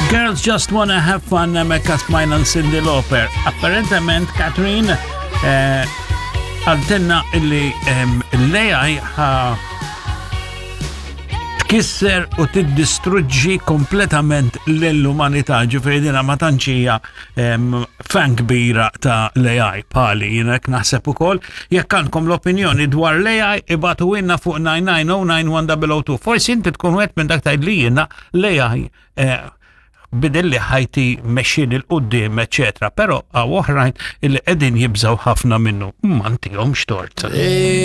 Girls Just Wanna Have Fun hemmhekk smajna Cyndi Lauper. Apparentement Catherine eh, għaltenna illi l-AI ħa tkisser u tiddistruġġi kompletament l-umanità, ġifieri dina ma tantx hija fan kbira ta' l-AI pali, jiena hekk naħseb ukoll. Jekk għandkom l-opinjoni dwar l-AI ibatu inna fuq 9909102. Forsi inti tkun wieħed minn dak tgħid li jiena l-AI eh, bidilli ħajti mexxin il-qudiem, eċetera, però għaw oħrajn illi qegħdin jibżgħu ħafna minnu. Ma ntihomx tort.